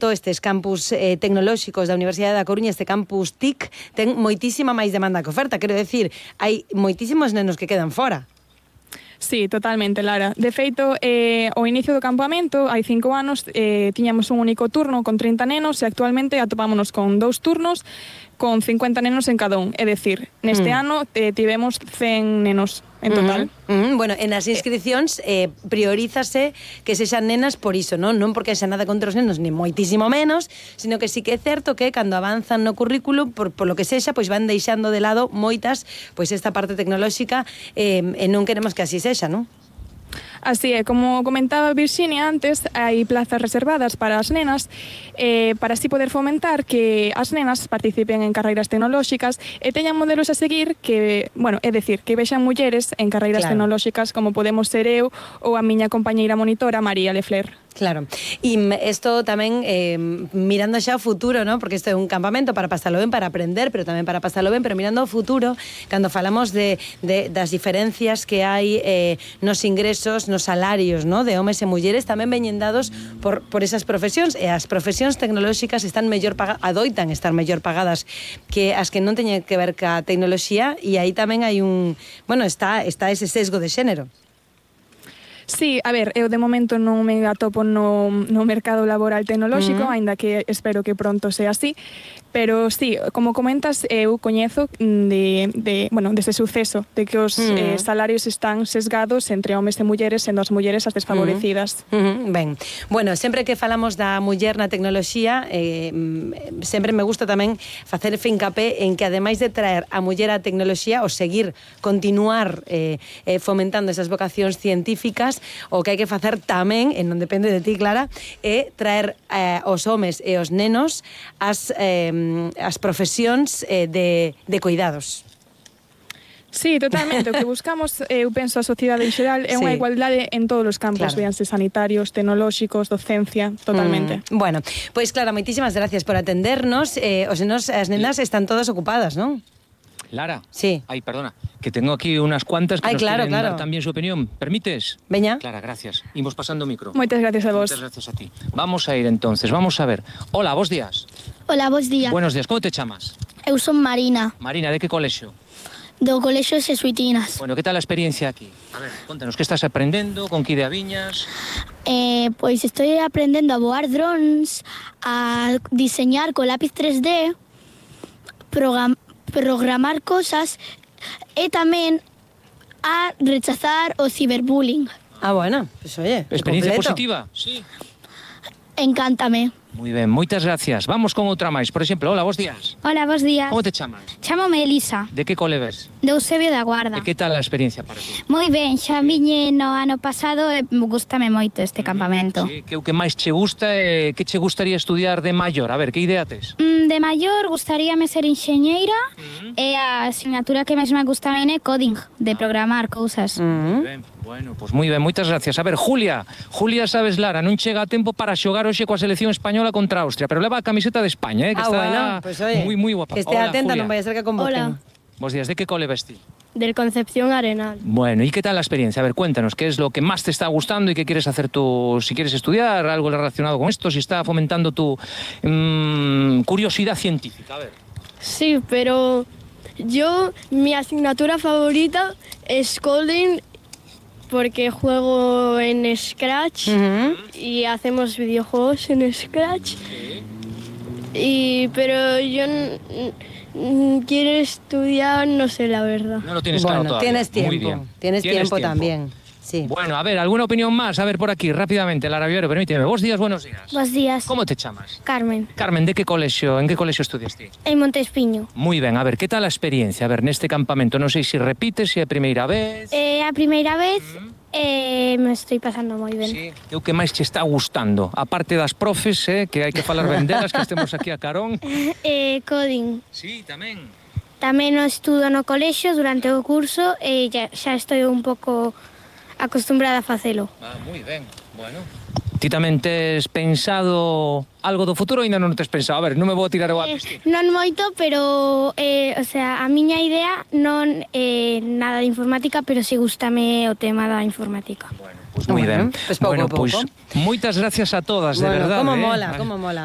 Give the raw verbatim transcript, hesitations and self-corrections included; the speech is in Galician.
todos estes campus eh, tecnolóxicos da Universidade da Coruña, este campus T I C, ten moitísima máis demanda que oferta. Quero decir, hai moitísimos nenos que quedan fora. Sí, totalmente, Lara. De feito, eh, ao inicio do campamento, hai cinco anos, eh, tiñamos un único turno con trinta nenos e actualmente atopámonos con dous turnos con cincuenta nenos en cada un. É dicir, neste mm. ano eh, tivemos cen nenos en total. Mm -hmm. Bueno, en as inscripcións eh, priorízase que sexan nenas por iso, non? Non porque xa nada contra os nenos, ni moitísimo menos, sino que sí que é certo que cando avanzan no currículo, por, por lo que sexa, pois van deixando de lado moitas, pois esta parte tecnolóxica, eh, e non queremos que así sexa, non? Así é, como comentaba Virxinia antes, hai plazas reservadas para as nenas eh, para así poder fomentar que as nenas participen en carreiras tecnolóxicas e teñan modelos a seguir que, bueno, é dicir, que vexan mulleres en carreiras claro. tecnolóxicas como podemos ser eu ou a miña compañeira monitora María Lefler. Claro, e isto tamén eh, mirando xa ao futuro, ¿no? Porque isto é un campamento para pasalo ben, para aprender, pero tamén para pasalo ben, pero mirando ao futuro, cando falamos de, de, das diferencias que hai eh, nos ingresos, nos salarios, ¿no? De homes e mulleres, tamén veñen dados por, por esas profesións, e as profesións tecnolóxicas están mellor pagadas, adoitan estar mellor pagadas que as que non teñen que ver ca tecnoloxía, e aí tamén hai un, bueno, está, está ese sesgo de xénero. Sí, a ver, eu de momento non me atopo no, no mercado laboral tecnolóxico, uh-huh. aínda que espero que pronto sea así, pero sí, como comentas, eu coñezo de, de, bueno, dese suceso, de que os uh-huh. eh, salarios están sesgados entre homes e mulleres, sendo as mulleres as desfavorecidas. Uh-huh. Uh-huh. Ben, bueno, sempre que falamos da muller na tecnoloxía, eh, sempre me gusta tamén facer fincapé en que ademais de traer a muller á tecnoloxía, ou seguir, continuar eh, eh, fomentando esas vocacións científicas, o que hai que facer tamén, e non depende de ti, Clara, é traer eh, os homes e os nenos as, eh, as profesións eh, de, de cuidados. Sí, totalmente. O que buscamos, eu penso, a sociedade en xeral é unha sí. igualdade en todos os campos, claro. veanse sanitarios, tecnolóxicos, docencia, totalmente. Mm, bueno, pois pues, Clara, moitísimas gracias por atendernos. Eh, os nenos, as nenas están todas ocupadas, non? Lara. Sí. Ay, perdona, que tengo aquí unas cuantas que Ay, nos claro, quieren claro. dar también su opinión. ¿Permites? Veña. Clara, gracias. Imos pasando micro. Moitas gracias a vos. Muchas gracias a ti. Vamos a ir entonces, vamos a ver. Hola, vos días. Hola, vos días. Buenos días, ¿cómo te chamas? Eu son Marina. Marina, ¿de qué colegio? Do colexio Xesuitinas. Bueno, ¿qué tal la experiencia aquí? A ver, contanos, ¿qué estás aprendendo? ¿Con que ideaviñas? Eh, pois estoy aprendendo a voar drones, a diseñar con lápiz tres D, program programar cosas e tamén a rechazar o ciberbullying. Ah, bueno, pues oye, ¿Experiencia completo. positiva? Sí. Encántame. Muy ben, moitas gracias. Vamos con outra máis. Por exemplo, hola, bos días. Hola, bos días. Como te chamas? Chámome Elisa, De que cole ves? de Eusebio da Guarda. E que tal a experiencia para ti? Moi ben, xa viñe no ano pasado e gústame moito este campamento. Sí, que o que máis che gusta e que che gustaría estudiar de maior? A ver, que idea tes? Mm, de maior gustaríame ser enxeñeira uh-huh. e a asignatura que máis me gusta é coding, de programar cousas. Uh-huh. Ben, bueno, pois pues moi ben, moitas gracias. A ver, Julia, Julia sabes, Lara, non chega a tempo para xogar hoxe coa selección española contra Austria, pero leva a camiseta de España, eh, que ah, está bueno, pues, oye, moi, moi guapa. Que esté Hola, atenta, Julia. non vaya a ser que convoquen. Hola. Bos días, de que cole ves ti? Del Concepción Arenal. Bueno, ¿y qué tal la experiencia? A ver, cuéntanos, ¿qué es lo que más te está gustando y qué quieres hacer tú? Si quieres estudiar algo relacionado con esto, si está fomentando tu mmm, curiosidad científica, a ver. Sí, pero yo, mi asignatura favorita es coding porque juego en Scratch Uh-huh. y hacemos videojuegos en Scratch. Y, pero yo quiero estudiar, no sé la verdad. No lo tienes Bueno, claro todavía. tienes tiempo, Muy bien. tienes, ¿Tienes tiempo, tiempo también. Sí. Bueno, a ver, ¿alguna opinión más? A ver, por aquí, rápidamente, Lara Viero, permíteme. Vos días, buenos días. Bos días. ¿Cómo te chamas? Carmen, Carmen, ¿de qué colegio, en qué colegio estudiaste? en Montespiño. Muy bien, a ver, ¿qué tal la experiencia? A ver, neste campamento, non sei se repites, se é a primeira vez... É a primeira vez e me estoy pasando moi ben. Sí. E o que máis che está gustando? A parte das profes, eh, que hai que falar ben delas, que estemos aquí a carón. Eh, coding. Sí, tamén. Tamén o estudo no colexio durante o curso e xa, xa estou un pouco acostumbrada a facelo. Ah, moi ben, bueno. Ti tamén tes pensado algo do futuro ou ainda non tes pensado? A ver, non me vou tirar o Eh, ápice. non moito, pero eh, o sea, a miña idea non é eh, nada de informática, pero si gústame o tema da informática. Bueno, pois moi Bueno, ben. pois pouco Bueno, a pouco. pois moitas gracias a todas, de Bueno, verdade. como eh. mola, como mola.